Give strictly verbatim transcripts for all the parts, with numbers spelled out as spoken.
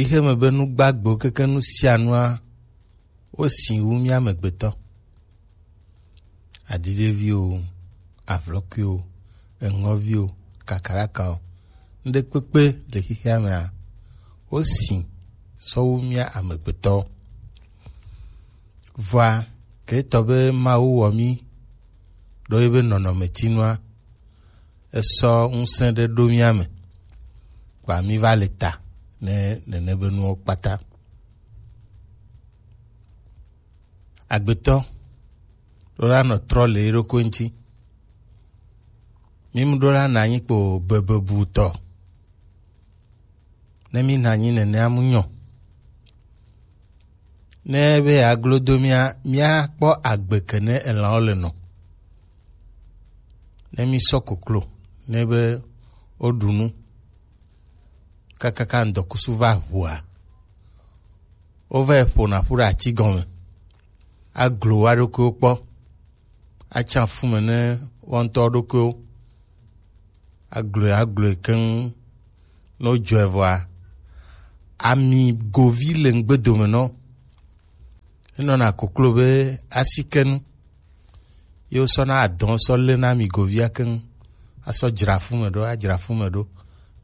Xixeme be nu gbagbewo keke nu sia nua, wosi wu mía amegbetɔ. Aɖiɖeviwo, avlɔkuiwo, eŋɔviwo, kakarakawo, nuɖekpekpe le xixea mea, wosi sɔ wu mía amegbetɔwo. Vɔa, ke etɔ be Mawu wɔ mí ɖo ye be nɔnɔmetinua, esɔ ŋusẽ ɖe ɖo mía me, kpa mí va le ta ne nene be nuwo kpata. Agbetɔ ɖo la nɔ trɔ le eɖokui ŋuti. Mí mu ɖo la na anyi kpo bebebutɔ. Ne mí na anyi nenea mu nyɔ. Ne be aglo do mía, míakpɔ agbe ke ne elãwo le nɔ. Ne mí sɔ koklo, ne be woɖu nu, kakaka ŋdɔkusu va ʋua, wova yi ƒona ƒu ɖe ati gɔme, aglo wa ɖokuiwo kpɔ, atsa fu me ne wo ŋutɔ ɖokuiwo, agloe agloe keŋ. Ne wodzɔe vɔa, ami govi le ŋgbe dome nɔ. Enɔna koklo be asikenu. Ye wosɔna adɔn sɔ lena ami govia keŋ. Asɔ dzra fu me ɖo, adzra fu me ɖo.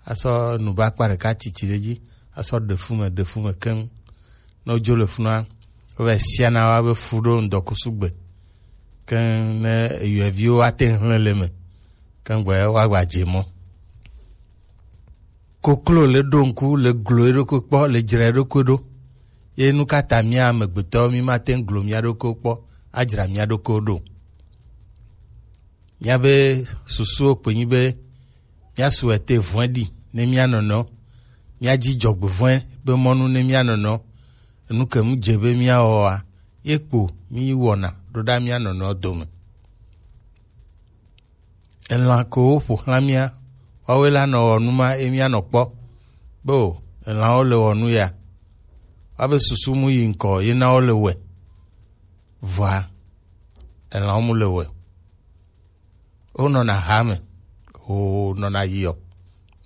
Asɔ nubakpa ɖeka titi ɖe dzi. Asɔ ɖe fu me, ɖe fu me keŋ. Ne wodzo le funua, wovɛ siana wa be fu ɖo ŋdɔkusu gbe. Keŋ ne eyɔeviwo ate ŋu hlẽ le me. Keŋ gbɔ ya woagba dze mɔ. Koklo le ɖo ŋku, le glo eɖokui kpɔ, le dzra eɖokui ɖo. Ye nu ka ta mía amegbetɔwo mí mate ŋu glo mía ɖokuiwo kpɔ, adzra mía ɖokuiwo ɖo? Míabe susuwo kpe nyi be míasu ete vɔ̃e ɖi ne mía nɔnɔewo. Míadzi dzɔgbevɔ̃e be mɔnu ne mía nɔnɔewo. Enu ke mu dze be míawɔ oa, ye kpo mí wɔna ɖo ɖa mía nɔnɔewo dome. Elã ko woƒo xlã mía, woawoe la nɔ wɔ nu ma ye mía nɔ kpɔ. Be o, elãwo le wɔ nu ya. Woabe susu mu yi ŋkɔ ye na wo le wɛ. Vɔa, elãwo mu le wɛ. Wonɔna hame, wonɔna yiɔ,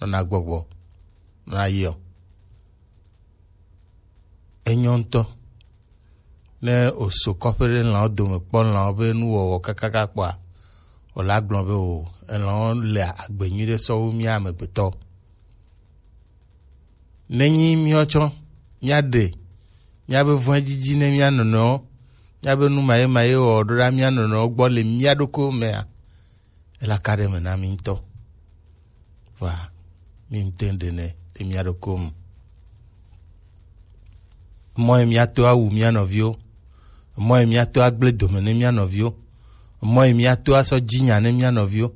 nɔna gbɔgbɔ, nɔna yiɔ. Enyɔ ŋutɔ. Ne oso kɔƒe ɖe lãwo dome kpɔ lãwo be nuwɔwɔ kakaka kpɔa, wòle agblɔ be o, elãwo le agbe nyui ɖe sɔ wu mía amegbetɔ. Nenyi míawo tsɔ míaɖe míabe vɔ̃edidi ne mía nɔnɔewo, míabe nu mayemaye wɔwɔ ɖo ɖa mía nɔnɔewo gbɔ le mía ɖokuiwo mea, ela ka ɖe eme na mí ŋutɔ. Vɔa, mí ŋutɔ ɖe nɛ le mía ɖokuiwo me. Mɔ ye míato awu mía nɔviwo, mɔ ye míato agblẽ dome ne mía nɔviwo, mɔ ye míato asɔ dzi nya ne mía nɔviwo,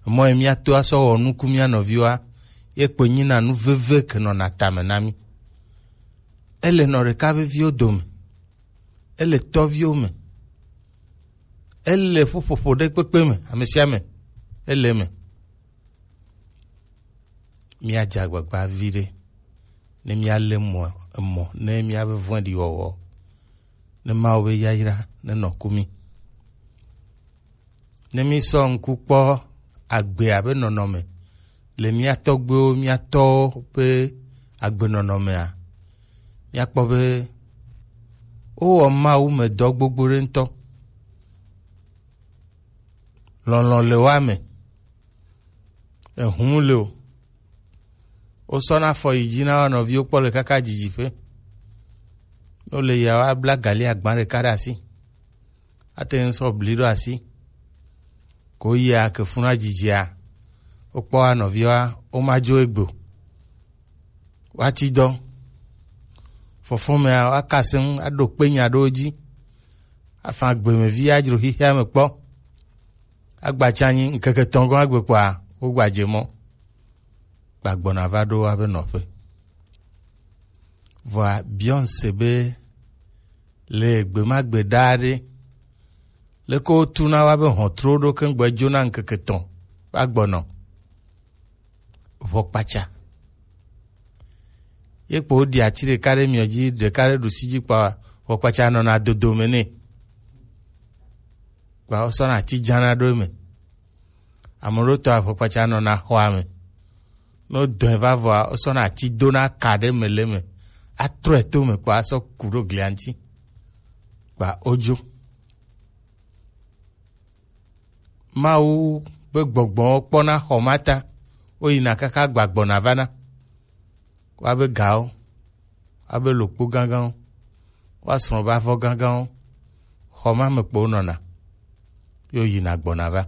mɔ ye míato asɔ wɔ nuku mía nɔviwoa, ye kpoe nyina nu veve ke nɔna tame na mí. Ele nɔ ɖeka veviwo dome, ele tɔviwo me, ele ƒuƒoƒo ɖe kpekpe me, ame sia ame, ele eme. Míadze agbagba viɖe ne míalé mɔ, emɔ ne míabe vɔ̃ɖiwɔwɔ, ne Mawu be yayra nenɔ ku mí. Ne mísɔ ŋku kpɔ agbe abe nɔnɔme le mía tɔgbuiwo, mía tɔwo ƒe agbenɔnɔmea, míakpɔ be wowɔ Mawu me dɔ gbogbo ɖe ŋutɔ. Lɔlɔ̃ le woa me. Ehum le o. Wosɔna afɔ yi dzi na wo nɔviwo kpɔ le kaka dzidziƒe. Ne wole yia, woabla gali agba ɖeka ɖe asi. Ate ŋu sɔ bli ɖo asi. Ko yia ke funa dzidzia, wokpɔ wa nɔviwa, womadzo egbe o. Woati dɔ. Fɔfɔmea, woaka se ŋu, aɖo kpe nya ɖewo dzi. Afa gbemevi adzro xixea me kpɔ. Agbatsa anyi ŋkeke etɔ̃ gɔ̃ agbe kpɔa, wogbadze mɔ. Gbagbɔna va ɖo woabe nɔƒe. Vɔa, Beyonce be le gbe ma gbe ɖaa ɖe, leke wotuna woabe hɔntruwo ɖo keŋ gbɔ dzona ŋkeke etɔ̃ va gbɔnɔ? Ʋɔkpatsa. Ye kpo woɖi ati ɖeka ɖe miɔ dzi, ɖeka ɖe ɖusi dzi kpa, ʋɔkpatsa nɔna dodo me nɛ. Kpa wosɔna ati dzana ɖo eme. Ame ɖewo tɔ ʋɔkpatsa nɔna xɔa me. Ne wodɔe va vɔa, wosɔna ati dona ka ɖe me le eme. atrɔe to me kpa asɔ ku ɖo glia ŋuti kpa odzo. Mawu be gbɔgbɔwo kpɔna xɔ ma ta, woyina kaka gbagbɔna vana. Woabe gawo, woabe lokpo gãgãwo, woasrɔ̃ be avɔ gãgãwo, xɔ ma me kpo wonɔna, ye woyina gbɔna va.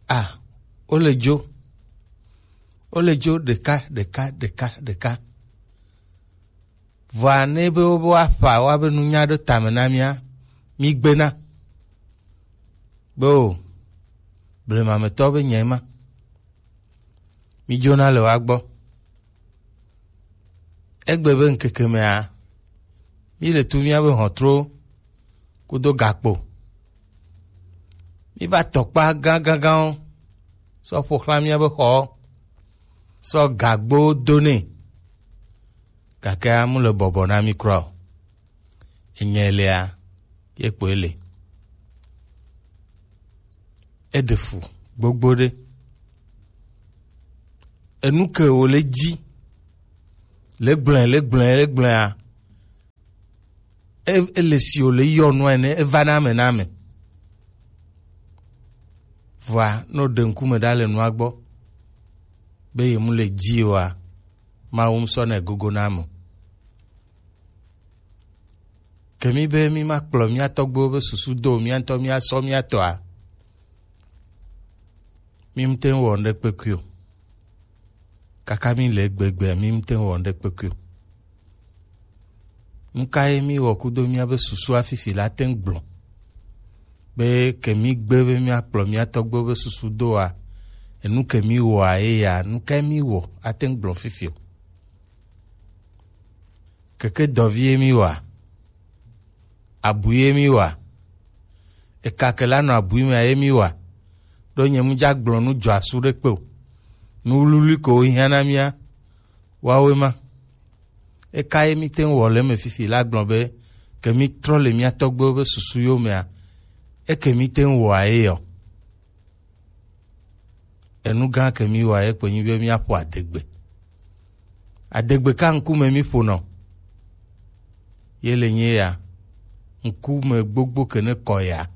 A, wole dzo, wole dzo ɖeka, ɖeka, ɖeka, ɖeka. Vɔa ne be wobe woaƒa woabe nunya ɖo tame na mía, mígbena be o, blemametɔ be nyɛ ma. Mídzona le woa gbɔ. Egbe be ŋkeke mea, míle tu míabe hɔntro kudo gakpo. Míva tɔkpa gãgãgãwo sɔ ƒo xlã míabe xɔwo, sɔ gagbowo do nɛ. Gakea mu le bɔbɔ na mí kura o. Enye lea, ye kpoe le. Eɖe fu gbogbo ɖe. Enu ke wòle dzi le gblẽ, le gblẽ, le gblẽa, e-, ele si wòle yɔ nua ene, eva na ame na ame. Vɔa, ne wòɖe ŋkume ɖa le nua gbɔ, be ye mu le dzi oa, Mawu ŋusɔ nɛ gogo na ame o. Ke mí be mí ma kplɔ mía tɔgbuiwo be susu do o, mía ŋutɔ mía sɔ mía tɔa, mí mte ŋu wɔ ŋɖe kpekui o. Kaka mí le egbegbe, mí mte ŋu wɔ ŋɖe kpekui o. Nu ka ye mí wɔ kudo mía be susu afifi la te ŋu gblɔ? Be ke mí gbe be mía kplɔ mía tɔgbuiwo be susu doa, enu ke mí wɔa ye ya, nu ka ye mí wɔ ate ŋu gblɔ fifi o? Keke dɔvi ye mí wa, abui ye mí wa, eka ke la nɔ abui mea ye mí wa, ɖo nye mu dza gblɔ nu dzɔ asu ɖe kpe o. Nu wluwlui ko wo hiã na mía, woawoe ma. Eka ye mí te ŋu wɔ le eme fifi la gblɔ be, ke mí trɔ le mía tɔgbuiwo be susu yomea, eke mí te ŋu wɔa ye yɔ. Enu gã ke mí wɔa ye kpe nyi be míaƒo adegbe. Adegbe ka ŋkume mí ƒonɔ? Ye le nye ya, ŋkume gbogbo ke ne kɔ ya.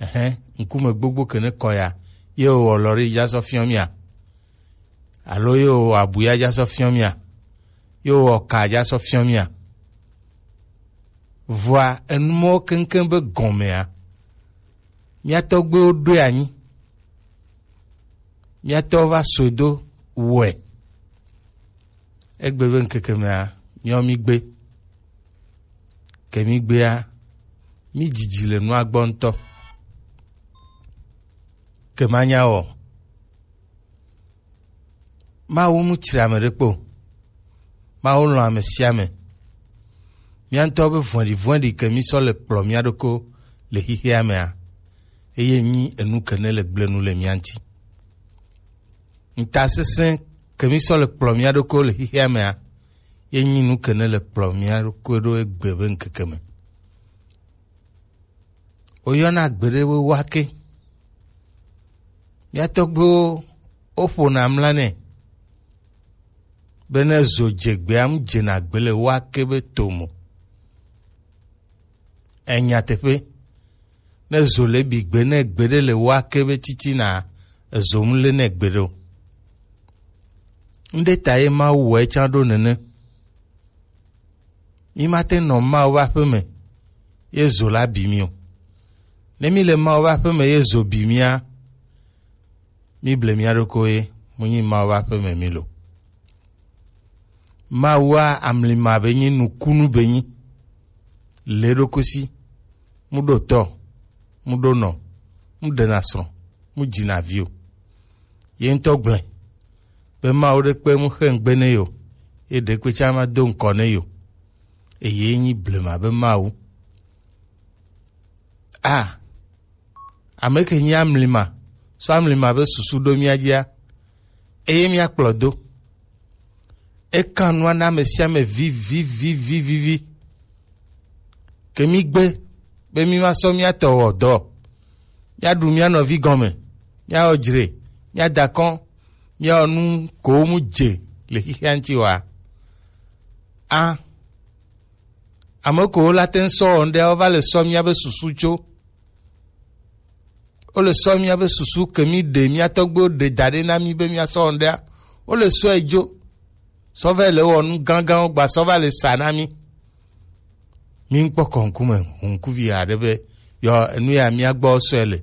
Ɛhɛn, ŋkume gbogbo ke ne kɔ ya. Ye wɔ lɔri dza sɔ fiɔ mía. Alo ye wɔ abuya dza sɔ fiɔ mía. Ye wɔ ka dza sɔ fiɔ mía. Vɔa enu mɔwo keŋkeŋ be gɔmea, mía tɔgbuiwo ɖoe anyi. Mía tɔwo va sɔe do wɔe. Egbe be ŋkeke mea, míawo mí gbe. Ke mí gbea, mí dzidzi le nua gbɔ ŋutɔ. Ke manya wɔ. Mawu mu tsri ame ɖe kpo. Mawu lɔ̃ ame sia ame. Mía ŋutɔ be vɔ̃ɖivɔ̃ɖi ke mí sɔ le kplɔ mía ɖokɔ le xexea mea, eye nyi enu ke ne le gblẽ nu le mía ŋuti. Ŋutasesẽ ke mí sɔ le kplɔ mía ɖokɔ le xexea mea, ye nyi nu ke ne le kplɔ mía ɖokɔ ɖo egbe be ŋkeke me. Woyɔna gbeɖe be wake. Mía tɔgbuiwo woƒona mla nɛ be ne zo dze gbea, mu dzena gbe le wake be tome o. Enyateƒe, ne zo le bi gbe ne gbeɖe le wake be titina, ezo mu le ne gbeɖe o. Ŋɖe ta ye Mawu wɔe tsã ɖo nene. Mí mate nɔ Mawu ƒe aƒe me ye zo la bi mí o. Ne mí le Mawu ƒe aƒe me ye zo bi mía, mí ble mía ɖokuiwo ye, mu nyi Mawu ƒe aƒe me mí lo. Mawua amlima be nyi nukunu be nyi. Le ɖokusi, mu ɖo tɔ, mu ɖo nɔ, mu ɖena srɔ̃, mu dzina vi o. Ye ŋutɔ gblẽ be Mawu ɖe kpe mu xe ŋugbe ne yo, ye ɖe kpe tsã ma do ŋkɔ ne yo. Eye nyi blema be Mawu. A, ame ke nyi amlima, sɔ amlima be susu ɖo mía dzia, eye mía kplɔ do. Ekan nua na ame sia ame vivivivivivi. Ke mí gbe be mí ma sɔ mía tɔ wɔ dɔ. Mía ɖu mía nɔvi gɔme, mía wɔ dzre, mía da kɔn, mía wɔ nu ko mu dze le xixia ŋuti wa. A, ame kewo la te ŋu sɔ wɔ ŋɖe, wova le sɔ míabe susu tso. Wole sɔ míabe susu ke mí ɖe, mía tɔgbuiwo ɖe da ɖe na mí be míasɔ wɔ ŋɖea, wole sɔe dzo. Sɔ va le wɔ nu gãgãwo gba sɔ va le sa na mí. Mí ŋkpɔ kɔ ŋkume ŋkuvi aɖe be yɔ enu ya mía gbɔ sɔe le.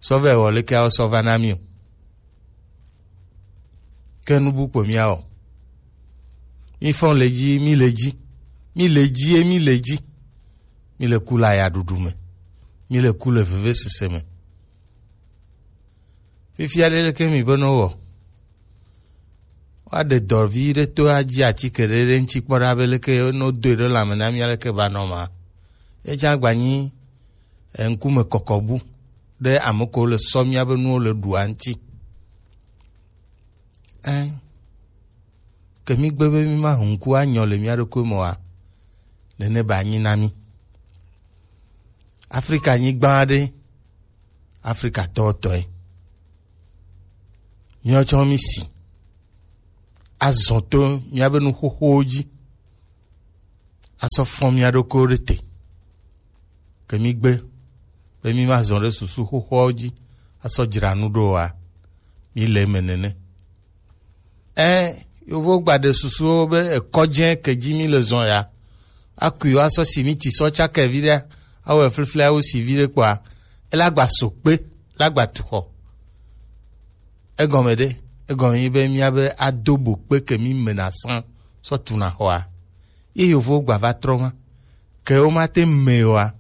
Sɔ va wɔ leke awɔ sɔ va na mí o. Ke nu bu kpo mía wɔ. Mí fɔn le dzi, mí le dzi. Mí le dzi ye mí le dzi. Mí le ku le ayaɖuɖu me. Mí le ku le vevesese me. Fifia ɖe leke mi be no wɔ? Woaɖe dɔ vi ɖe to adzi atike ɖe ɖe ŋuti kpɔ ɖa be leke no doe ɖe lãme na mí aleke ba nɔ ma. Ye tsã gba nyi, eh, ŋkume kɔkɔ bu ɖe ame kewo le sɔ míabe nuwo le ɖua ŋuti. Ɛ, ke mí gbe be mí ma ŋku anyɔ le mía ɖokui me oa, nene ba nyi na mí. Afrika nyigba aɖe, Afrika tɔtɔe. Míawo tsɔ mí si azɔ to míabe nu xoxowo dzi, asɔ fɔn mía ɖokuiwo ɖe te. Ke mí gbe be mí ma zɔ ɖe susu xoxoawo dzi asɔ dzra nu ɖo oa, mí le eme nene. Ɛ, yovo gba ɖe susuwo be ekɔdze ke dzi mí le zɔ ya, akui wo asɔ simiti sɔ tsake vi ɖe, awɔ eflifli awo si vi ɖe kpɔa, ela gba so kpe, la gba tu xɔ. Egɔme ɖe, egɔme nyi be míabe ado bo kpe ke mí mena sã sɔ tuna xɔa. Ye yovowo gba va trɔ ma. Ke womate me oa,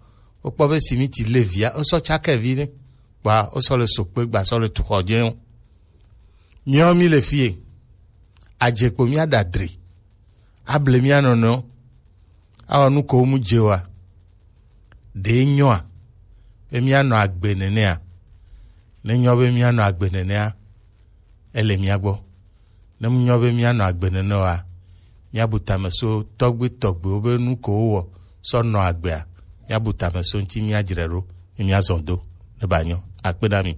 wokpɔ be simiti le via, wosɔ tsake vi ɖe. Kpɔa, wosɔ le so kpe gba sɔ le tu xɔ dze o. Míawo mí le fie, adze kpo mía ɖa dri. Able mía nɔnɔewo. Awɔ nu ko mu dze wa. Ɖe nyɔa be mía nɔ agbe nenea? Ne nyɔ be mía nɔ agbe nenea, ele mía gbɔ. Ne mu nyɔ be mía nɔ agbe nene wa, mía bu tame so tɔgbe tɔgbewo be nu ko wowɔ sɔ nɔ agbea, mía bu tame so ŋuti mía dzre ɖo, ne mía zɔ do, ne ba nyɔ. Akpe na mi.